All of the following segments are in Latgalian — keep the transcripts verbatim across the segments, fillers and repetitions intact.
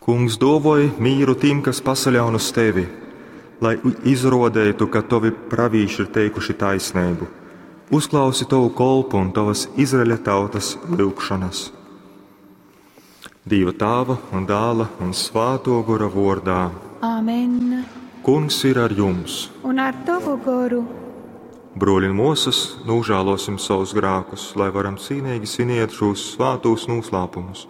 Kungs, duovoj mīru tim, kas pasaļaun uz tevi, lai izruodeitu, ka tovi pravīši ir teikuši taisneibu. Uzklausi tovu kolpu un tovas Izraeļa tautas lyugšonas. Dīva Tāva un Dāla un Svāto Gora vordā. Āmen. Kungs ir ar jums. Un ar tavu goru. Bruoļi un muosys, nožēlosim savus grēkus, lai varam cīnīgi svinēt šos svātos noslēpumus.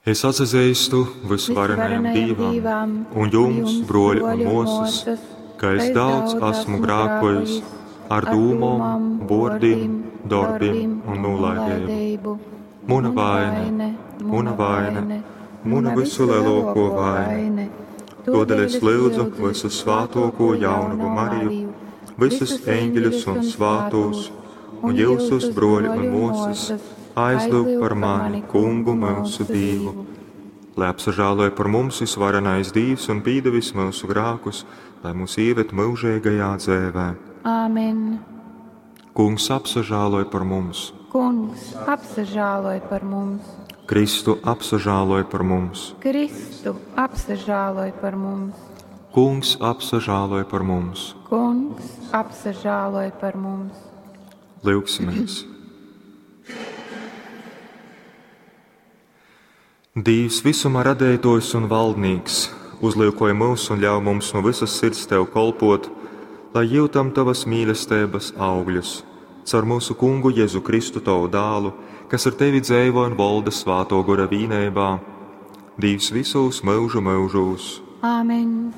Es atzīstu visvarenajam Dievam un jums, bruoļi un muosys, ka es daudz esmu grēkojis ar dūmom, vōrdim, dorbim un nolaidību. Muna vaina, muna vaina, muna visu lielāko vaina. Todēļ es lūdzu visu svātoko jaunavu Mariju, visus eņģeļus un svātos, un jūsus bruoļi un muosas, aizlūg par mani, Kungu mūsu Dievu. Lai apsažāloja par mums visvarenais Dievs un pīdevis mūsu grēkus, lai mūs ieved mūžīgajā dzēvē. Āmen. Kungs apsažāloja par mums. Kungs apsažāloj par mums. Kristu apsažāloj par mums. Kristu apsažāloj par mums. Kungs apsažāloj par mums. Kungs apsažāloj par mums. Lūgsimies! Dievs, visuma radētojs un valdnieks, uzlūkoja mūs un ļauj mums no visas sirds tev kolpot, lai jūtam tavas mīlestības augļus. Caur mūsu kungu Jēzu Kristu tavu dālu, kas ar tevi dzēvo un valda svāto gora vīnībā, Dievs visos mūžu mūžos. Āmen.